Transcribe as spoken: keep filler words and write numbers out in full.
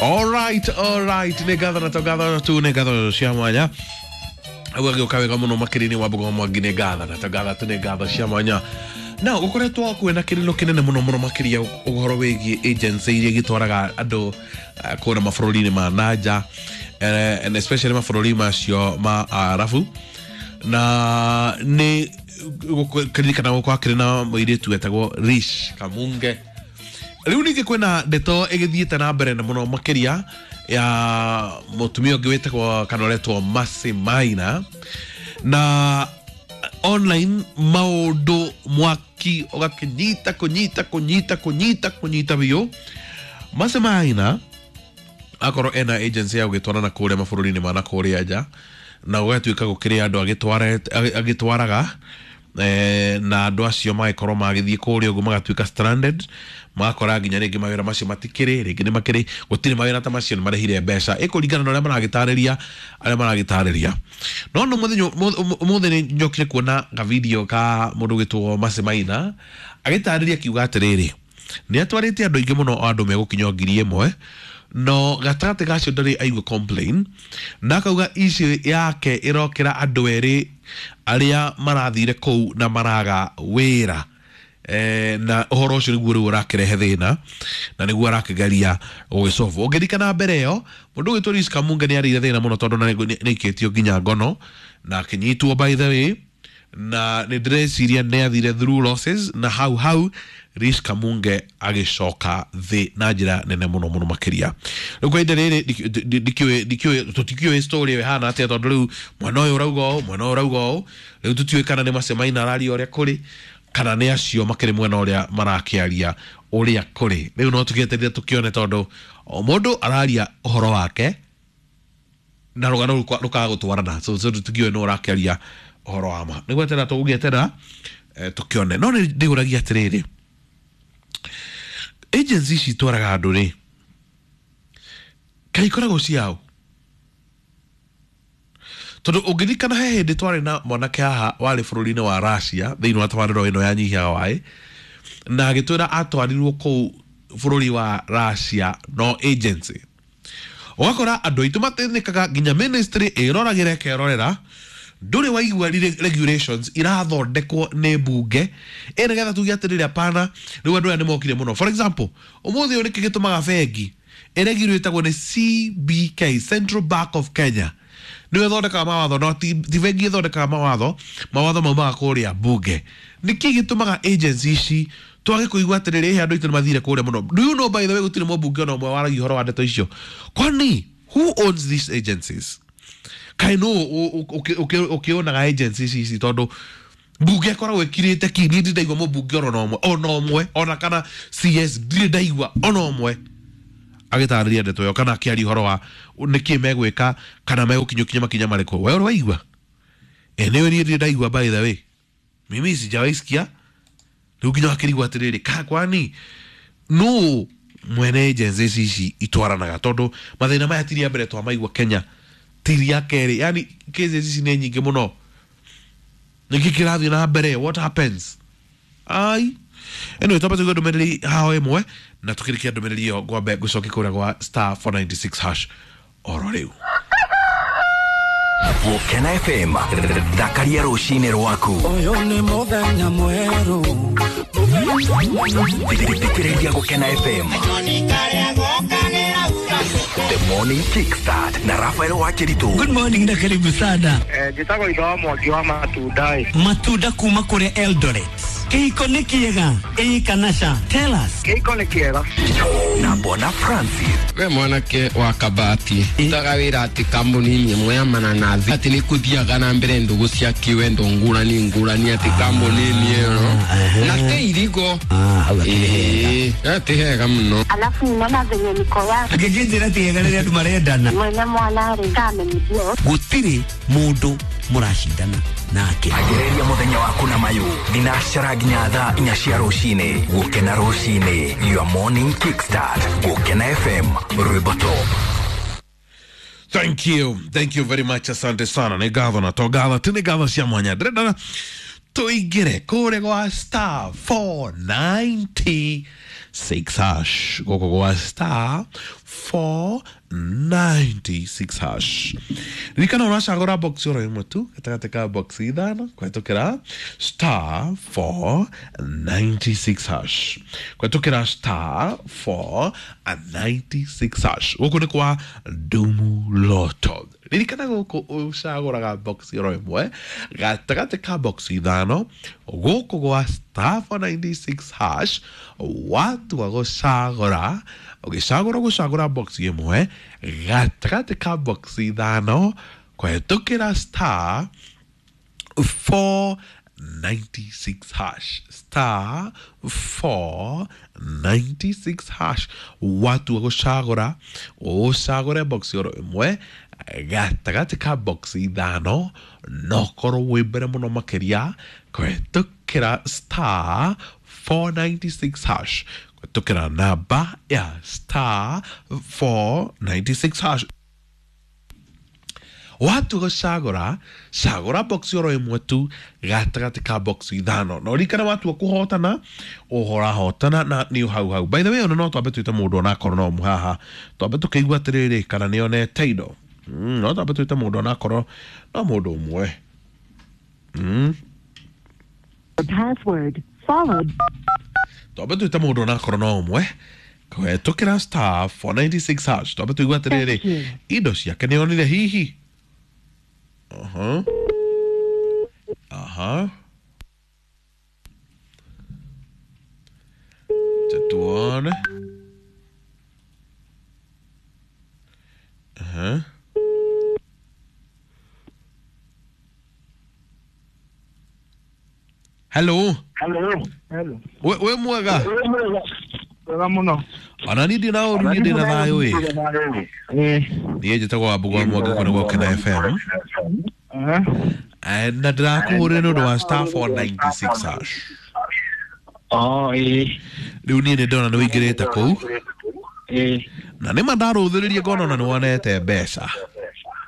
All right, all right, nĩ ngatho na to ngatho tu, nĩ ngatho cia mwanya. Ũgagĩũka wega mũno makĩria-inĩ wa Mbogo Mwangi, nĩ ngatho na to ngatho tu, nĩ ngatho cia mwanya. Na ũkoretwo kwĩna kĩrĩro kĩnene mũno mũno makĩria ũhoro wĩgiĩ agency iria igĩtwaraga andũ eh, kũrĩa mabũrũri-inĩ ma nanja, eh, and especially mabũrũri macio ma Arabu. Na nĩ kĩririkana gũkorwo akĩrĩ na mũirĩtu wetagwo Rish Kamunge. Rĩu ningĩ kwĩna ndeto ĩgĩthiĩte na mbere na mũno makĩria ya mũtumia ũngĩ wĩtagwo kana ũretwo Mercy Maina, na online maũndũ mwaki ũgakĩnyita kũnyita kũnyita kũnyita kũnyita biũ. Mercy Maina akorwo ena agency ya gũgĩtwarana kũrĩa mabũrũri-inĩ ma na kũrĩa nja, na gũgatuĩka gũkĩrĩ andũ agĩtwaraga, eh, na andũ acio magĩkorwo magĩthiĩ kũrĩa ũguo magatuĩka stranded, magakora nginya rĩngĩ mawĩra macio matikĩrĩ, rĩngĩ nĩ makĩrĩ, gũtirĩ mawĩra ta macio, nĩ marĩhire mbeca ĩkũringana na ũrĩa maragĩtarĩria arĩa maragĩtarĩria. No no mũthenya ũmũthĩ nĩ njokire kuona ga video ka mũndũ ũgĩtwo Mercy Maina agĩtarĩria akiuga atĩrĩrĩ, nĩ atwarĩte andũ aingĩ mũno, andũ megũkinya ngiri ĩmwe, no gatagatĩ gacio ndarĩ aigua complain, na akauga issue yake ĩrokĩra andũ erĩ arĩa marathire kũu na maraga wĩra. Eh, na ũhoro ũcio nĩguo rĩu ũrakĩrehe thĩna na nĩguo arakĩgeria gũgĩsolve. Ũngĩririkana mbere ĩyo mũndũ ũgĩtwo Rish Kamunge nĩ arĩire thĩna mũno tondũ nĩ aikĩtio nginya ngono na akĩnyitwo, by the way, na nĩ ndĩreciria nĩ athire through losses, na hau hau Rish Kamunge agĩcoka thĩ na njĩra nene mũno mũno makĩria. Rĩu kwa ihinda rĩrĩ ndikĩũĩ ndikĩũĩ tũtikĩũĩ story ĩyo ĩhana atĩa, tondũ rĩu mwena ũyũ ũrauga ũũ, mwena ũyũ ũrauga ũũ, rĩu tũtiũĩ kana nĩ Mercy Maina araria ũrĩa kũrĩ kana nĩ acio makĩrĩ mwena ũrĩa marakĩaria ũrĩa kũrĩ. Rĩu no tũgĩeterere tũkĩone, tondũ o mũndũ araria ũhoro wake na rũgano rũkaga gũtwarana, so so tũtikĩũĩ nũ ũrakĩaria ũhoro wa ma. Nĩ gweterera tũgũgĩeterera eh, tũkĩone. No nĩ ndĩũragia atĩrĩrĩ, agency ici itwaraga andũ rĩ, kaĩ ikoragwo ciao? Tondũ ũngĩririkana he hĩndĩ twarĩ na mwanake haha warĩ bũrũri-inĩ wa Russia thĩinĩ wa tabarĩra ĩno ya Nyihia Waĩ, na agĩtwĩra atwarirwo kũu bũrũri wa Russia no agency. Ũgakora andũ aitũ mateithĩkaga, nginya ministry ĩroragĩra ĩkerorera, ndũrĩ waigua regulations irathondekwo nĩ mbunge ĩ nĩgetha tuge atĩrĩrĩ, hapana, rĩu andũ aya nĩ mokire mũno. For example, ũmũthĩ ũyũ nĩkĩ gĩtũmaga bengi ĩregulĩtagwo nĩ C B K, Central Bank of Kenya, nĩyo ĩthondekaga mawatho, no ti bengi ĩthondekaga mawatho, mawatho maumaga kũrĩa mbunge. Nĩkĩ gĩtũmaga agency ici twage kũigua atĩrĩrĩ, ĩhĩ andũ aitũ nĩ mathire kũrĩa mũno? Do you know, by the way, gũtirĩ mũmbunge ona ũmwe waragia ũhoro wa ndeto icio? Kwani who owns these agencies? Kaĩ nũ ũkĩonaga agencies ici? Tondũ mbunge ĩkoragwo ĩkirĩte ki, niĩ ndirĩ ndaigua mũmbunge ona ũmwe, ona ũmwe, ona kana C S ndirĩ ndaigua ona ũmwe agĩtarĩria ndeto ĩyo kana akĩaria ũhoro wa nĩkĩ megwĩka kana megũkinyũkinya makinya marĩkũ. We ũrĩ waigua? Enyewe niĩ ndirĩ ndaigua, by the way, mimi sijawahi sikia. Rĩu nginya wakĩrigwo atĩrĩrĩ, ka kwani nũ mwene agencies ici itwaranaga? Tondũ mathĩna maya ti rĩa mbere twamaigua Kenya, ti rĩa kerĩ, yani cases ici nĩ nyingĩ mũno. Nĩkĩ kĩrathiĩ na mbere? What happens? Ai, anyway, twambe tũigue ndũmĩrĩri haho ĩmwe na tũkĩrĩkia ndũmĩrĩri ĩyo ngwambe ngũcokie kũrĩa gwa star four ninety six hash oro rĩu. Gũkena F M, thakaria rũcinĩ rwaku. Ũyũ nĩ mũthenya mwerũ. Thikĩrĩria Gũkena F M. The Morning Kickstart na Rafael Wakiritu. Good morning na karibu sana. Eh, njĩtagwo Itho wa Mwangi wa matunda ĩ. Matunda kuma kũrĩa Eldoret. Kĩhiko nĩ kĩega? Ĩ kana ca? Tell us. Kĩhiko nĩ kĩega. Na Bwana Francis. We mwanake wa Kabati. Utaga wĩra atĩ kambuni ĩmwe ya mananathi. Atĩ nĩ kũthiaga na mbere ndũgũ cia kĩwendo ngũrani ngũrani atĩ kambuni ĩyo. Na te irigo. Ah, hau akĩrĩ hega. Ĩĩ, atĩ hega mũno. Alafu ninaona venye niko wapi. Angĩkĩnjĩra ti hega rĩrĩa andũ marendana. Mwene mwana rĩ, kamenyithio. Gũtirĩ mũndũ mũracindana nake. Agĩrĩria mũthenya waku na mayũ. Thinacara nginya thaa inya cia rũcinĩ. Gũkena rũcinĩ. Your morning kickstart. Gũkena F M. Rwĩmbo top. Thank you. Thank you very much. Asante sana. Nĩ ngatho na to ngatho. Ti nĩ ngatho cia mwanya. Ndĩrenda tũingĩre kũrĩa gwa star four ninety six hash. Gũkũ gwa star four ninety-six hash. Ririkana ũracagũra box oro ĩmwe tu gatagatĩ ka box ithano kũhetũkĩra star four ninety-six hash, kũhetũkĩra star four ninety-six hash. Gũkũ nĩ kwa Dumu Lotto. Ririkana gũkũ ũcagũraga box oro ĩmwe gatagatĩ ka box ithano gũkũ gwa star four ninety-six hash. Watua gũcagũra ũgĩcagũra gũcagũra box ĩmwe gatagatĩ ka box ithano kũhetũkĩra star four ninety-six hash, star four ninety-six hash. Watua gũcagũra ũcagũre box oro ĩmwe gatagatĩ ka box ithano no korwo wĩ mbere mũno makĩria kũhetũkĩra star four ninety-six hash, kũhetũkĩra namba ya star four ninety-six hash. Watu gũcagũra cagũra box oro ĩmwe tu gatagatĩ ka box ithano na ũririkane watua kũhotana ũhorahotana na nĩ hau hau. By the way, ona no twambe twĩte mũndũ onakorwo no mũhaha twambe tũkĩigua atĩrĩrĩ kana nĩ onete indo. Mm, no twambe twĩte mũndũ onakorwo no mũndũ ũmwe. Mm. Password followed. Twambe twĩte mũndũ onakorwo no ũmwe kũhetũkĩra star four ninety-six hash. Twambe tũigua atĩrĩrĩ indo ciake nĩ onire hihi. Uh-huh. Uh-huh. Tuone. Uh-huh. Hello. Hello. Hello. We we mwega. Wega mũno. Ona niĩ ndĩ na ũru, niĩ ndĩ na thayũ ĩ. Ĩ. Niĩ njĩtagwo Wambũgũ wa Mwangi kũrĩa Gũkena F M. Uh-huh. Na ndĩrakũhũrĩra nĩ ũndũ wa star four ninety-six hash. Oh, ĩ. Rĩu niĩ nĩ ndona nĩ ũingĩrĩte kũu. Ĩ. Na nĩma ndarũthĩrĩria ngona ona nĩ wonete mbeca.